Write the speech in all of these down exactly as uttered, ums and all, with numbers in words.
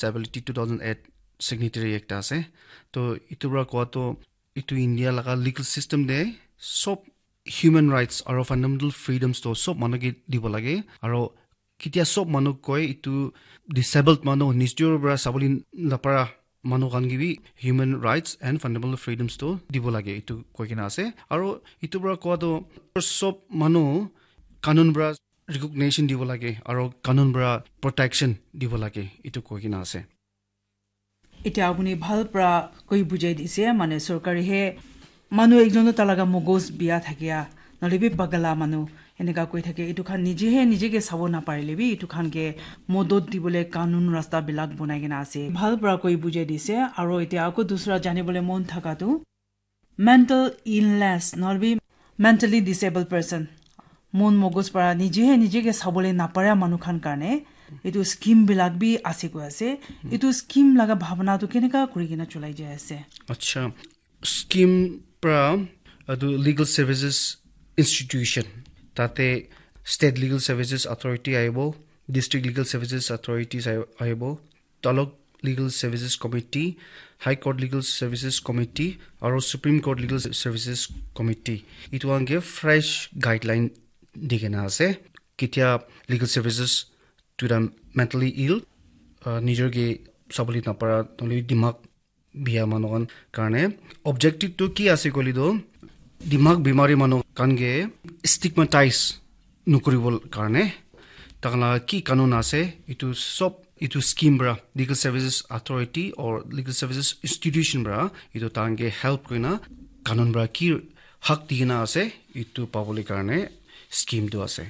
Disability two thousand eight signatory ekta ase. To itu para kowa to itu India laga legal system te sob human rights aro fundamental freedoms to sob manu ke dibo lage. Aro ketia sob manu koi itu disabled manu nijor para sabole napara manu khan ke bi human rights and fundamental freedoms to dibo lage itu koi kena ase. Aro itu para kowa to sob manu kanun para recognition dibo lage aro kanun para protection dibo lage itu koi kena ase. Etia apuni bhal para koi bujai dise, mane sorkari he manu ekjon to talaga mogos bia thakia, nahole bi pagala manu eneka koi thake, itu khan nije he nije ke sabo naparile bi itu khan ke modot dibole kanun rasta bilak bonai kena ase. Bhal para koi bujai dise, aro etia ako dusra janibole mon thaka tu mental illness, nahole bi mentally disabled person, mon mogos para nije he nije ke sabole napara manu khan karne itu scheme bilak bi ase koi ase. Itu scheme laga bhabna tu keneka kuri kena cholai jai ase? Acha, scheme pra atu legal services institution, tate state legal services authority aibo, district legal services authorities ai- aibo, taluk legal services committee, high court legal services committee, aro supreme court legal services committee, itu khan ke fresh guideline di kena ase. Ketia legal services to the mentally ill, uh, nijor ke sabole napara, nahole dimag bia manu khan karne. Objective tu ki ase koile tu, dimag bimari manu khan ke stigmatize nukuribo karne, takhan la ki kanun ase, itu sob itu scheme pra, legal services authority or legal services institution pra itu takhan ke help kurina kanun pra ki hak dikena ase, itu pabole karne scheme tu ase.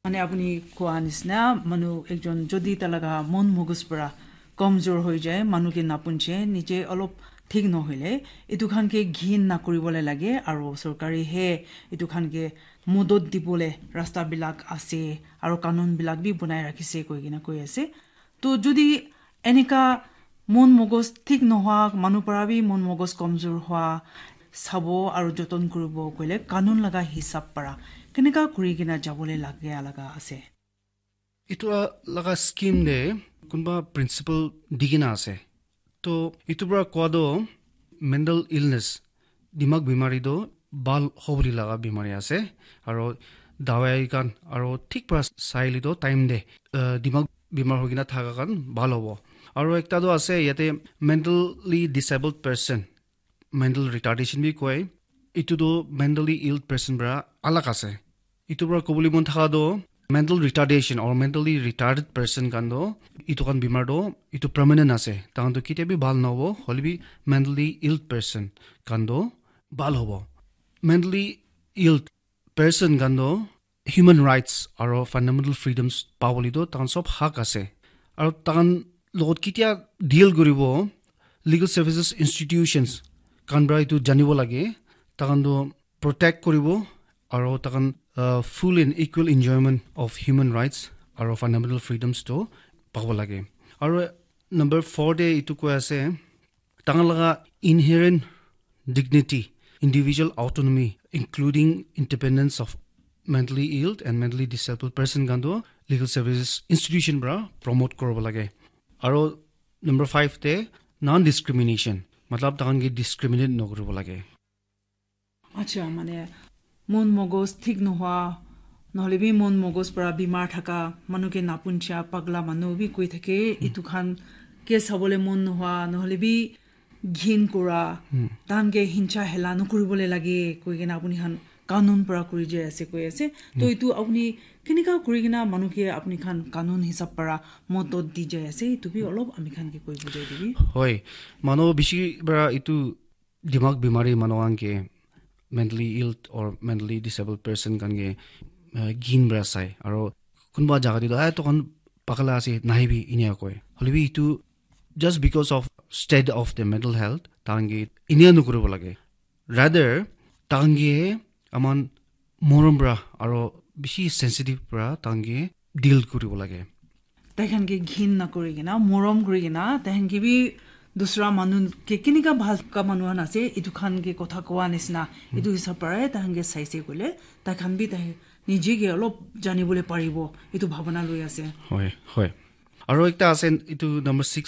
Mane apuni koa nisna, manu ekjon jodi talaga mon mogos para komjor hoi jai, manu ke napunche, nije olop thik nohoile, itu khan ke ghin nakuribole lage, aro sorkari he itu khan ke modot dibole rasta bilak ase, aro kanun bilak bi bonai rakhise koi kena koi ase. To jodi enika mon mogos thik nohoa manu para bi mon mogos komjor hoa sabo aro joton kuribo koile kanun laga hisab para keneka kuri kena jabole lage laga ase? Itu laga scheme de kunba principle di kena ase. To itu para koa do mental illness, dimag bimari do bhal hobole laga bimari ase, aro dawai khan aro thik para saile do time de, uh, dimag bimar hoi kena thaka khan bhal hobo. Aro ekta do ase yate mentally disabled person, mental retardation bi koi, itu do mentally ill person para alag ase. Itu para kobole mon thaka do mental retardation or mentally retarded person khan do itu khan bimar do itu permanent ase, takhan do ketia bi bhal nahobo, hoile bi mentally ill person khan do bhal hobo. Mentally ill person khan do human rights aro fundamental freedoms pabole do takhan sob hak ase, aro takhan logot ketia deal kuribo, legal services institutions khan para itu janibo lage, takhan do protect kuribo, aro takhan, uh, full and equal enjoyment of human rights aro fundamental freedoms to pabo lage. Aro number four de itu koi ase, takhan laga inherent dignity, individual autonomy, including independence of mentally ill and mentally disabled person khan to legal services institution para promote koribo lage. Aro number five te non discrimination, matlab takhan ke discriminate nokoribo lage. Acha, mane mon mogos thik nohoa, nohole bi mon mogos para bimar thaka, manu ke napuncha, pagla manu bi koi thake, itu khan ke sabole mon nohoa, nohole bi ghin kura, tahan ke hincha hela nokuribole lage, koi kena apuni khan kanun para kuri jai ase, koi ase. To itu apuni keneka kuri kena manu ke apuni khan kanun hisab para modot di jai ase, itu bi olop ami khan ke koi bujai dibi. Hoi, manu bishi para itu dimag bimari manu khan ke mentally ill or mentally disabled person khan ke, uh, ghin para sai. Aro kunba jaga te to, "Ai, tokhan pagala ase, nahibi," inia koi. Hoile bi itu just because of state of the mental health, tahan ke inia nokoribo lage. Rather, tahan ke aman morom para aro bishi sensitive para tahan ke deal koribo lage. Tai khan ke ghin na kuri kena, morom kuri kena, tai khan ke bi dusra manu ke kenika bhal ka manu khan ase, itu khan ke kotha kowa nisna, itu hisab para tai khan ke saise koile, tai khan bi tai nije ke olop janibole paribo, itu bhabana loi ase. Hoi, hoi. Aro ekta ase, etu number six